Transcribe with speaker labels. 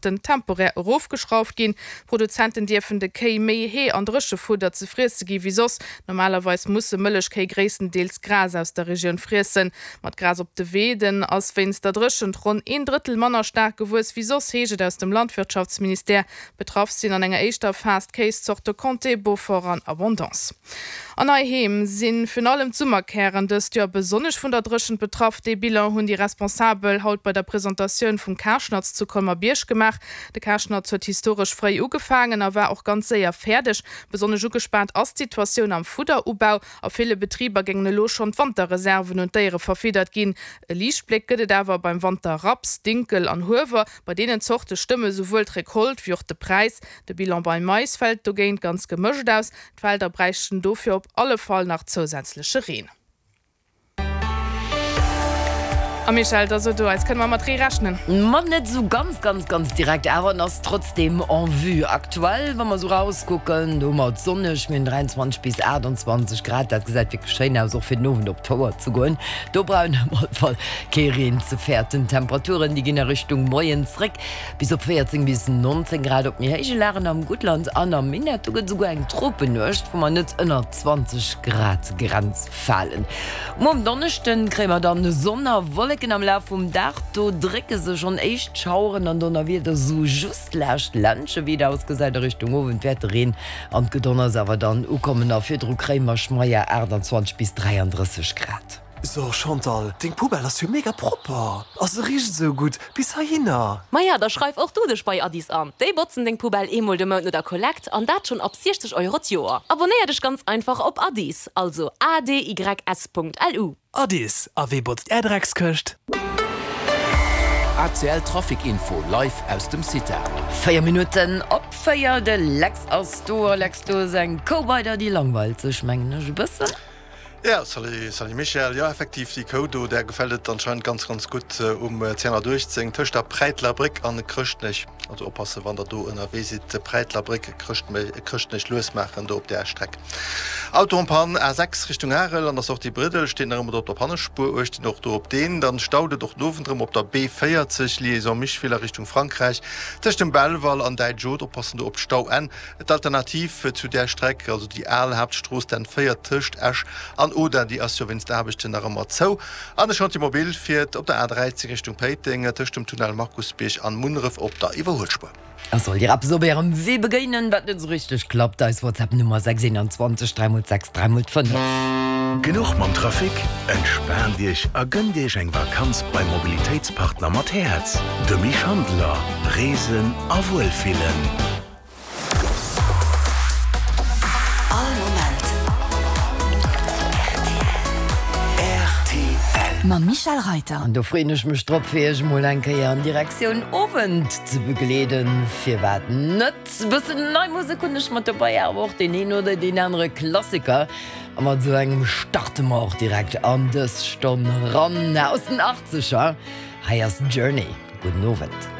Speaker 1: Den temporär erofgeschrauft ginn. D'Produzenten dierfen de Kéi méi Hee an Dréchefudder ze friesse gi wéi soss. Normalerweis musse Mëllechkéi gréisstendeels Gras aus der Regioun friessen. Ma d'Gras op de Weeden ass wéinst der Dréchent ronn een Drëttel manner staark gewuess wéi soss, heescht et aus dem Landwirtschaftsministère. Betraff sinn an enger éischter Phas d'Kéiszorte Comté, Beaufort an Abondance. An heiheem si virun allem d'Summerkären dëst Joer besonnesch vun der Dréchent betraff. Dee Bilan hunn déi Responsabel haut bei der Presentatioun vum Karschnatz zu Colmer-Bierg gemaach. De Karschnatz huet historesch fréi ugefaangen a war och ganz séier fäerdeg. Besonnesch ugespaant ass d'Situatioun am Fudderubau. A ville Betriber géingen elo schonn d'Wanterreserven un d'Déiere verfiddert ginn. E Liichtbléck gëtt et awer beim Wanterraps, Dinkel an Huewer. Bei deenen Zorte stëmme souwuel d'Recolte wéi och de Präis. De Bilan beim Mais fält dogéint ganz gemëscht aus. D'Felder bräichten dofir op alle Fall nach zousätzleche Reen. A Michèle, da so du eis, kënne mer mat Ree rechnen?
Speaker 2: Ma net esou ganz, ganz, ganz direkt, awer en ass trotzdeem en vue. Aktuell, wa mer esou rauskucken, do hu mer et sonneg, mir hunn 23 bis 28 Grad. Dat gesäit wierklech schéin aus, och fir den Owend op d'Fouer ze goen. Do brauch een op alle Fall kee Reen ze fäerten. D'Temperaturen, déi ginn a Richtung Moien zréck. Bis op 14 bis 19 Grad op méi héije Lagen am Guttland an am Minett. Do gëtt esouguer eng Tropennuecht, wou mer net ënner d'Zwanzeg Grad Grenz falen. Muer um Donneschden kréie mer dann Sonn a Wolleken am Laf vum Dag. Do drécke sech schonn éischt Schaueren an Donnerwieder sou just laascht Ländche. Wéi et ausgesäit a Richtung Owend wäert de Reen an d'Gedonners awer dann ukommen a virdru kréie mer schmeier 28 bis 33 Grad.
Speaker 3: So Chantal, deng Poubelle ass jo mega propper a se richt esou gutt bis heihinner.
Speaker 4: Maja, da schreif och du dech bei Addis an. Déi botzen deng Poubelle eemol de Mount no der Kollekt an dat schonn ab 60 Euro d'Joer. Abonnéier dech ganz einfach op Addis, also adys.lu.
Speaker 3: Addis, a wee botzt är Dreckskëscht?
Speaker 5: ACL Trafic Info live aus dem CITA.
Speaker 2: 4 Minutten op 4, de Lex ass do. A Lex, do ass eng Kou bei der, déi langweilt sech, mengen ech, e bëssen.
Speaker 6: Jo, salut, salut Michèle. Jo, effektiv, déi Kou do, där gefält et anscheinend ganz, ganz gutt um 218 tëscht der Präiteler Bréck an Chrëschtnech. Also oppassen, wann der do ënnerwee sidd, Präiteler Bréck, Chrëschtnech lues maachen do op där Streck. Auto en panne, A6 Richtung Arel an der Sortie Briddel steet nach ëmmer do op der Pannespuer. Uecht Dir och do op deen. Dann staut et och den Owend erëm op der B40, Liaison Micheville a Richtung Frankräich, tëscht dem Belval an Däitsch-Haute. Oppassen do op d'Stauenn. D'Alternativ zu där Streck, also déi al Haaptstrooss, d'N 4 tëscht Esch an Audun, déi ass jo wéinst Aarbechten nach ëmmer zou. An de Chantier mobile fiert op der A 13 Richtung Péiteng tëscht dem Tunnel Markusbierg an Munneref op der Iwwerhuelspuer.
Speaker 2: A sollt Dir eppes op Ärem Wee begéinen, wat net esou richteg klappt, eis WhatsApp Nummer 6 21 3 x 6 3 x 5.
Speaker 5: Genuch mam Trafic? Entspaant Iech a gënnt Iech eng Vakanz beim Mobilitéitspartner mat Häerz, dem Misch Handeler. Reesen a wuelfillen.
Speaker 7: All Moment rtl. Mam Michèle Reiter.
Speaker 2: An do freeën ech mech drop, fir Iech emol eng Kéier an Direktioun Owend ze begleeden. Firwat net? E bëssen nei Musek hunn ech mat dobei, awer och deen een oder deen anere Klassiker. A mat esou engem starte mer och direkt an dës Stonn eran. Aus den Achtzeger, hei ass Journey. Gudden Owend.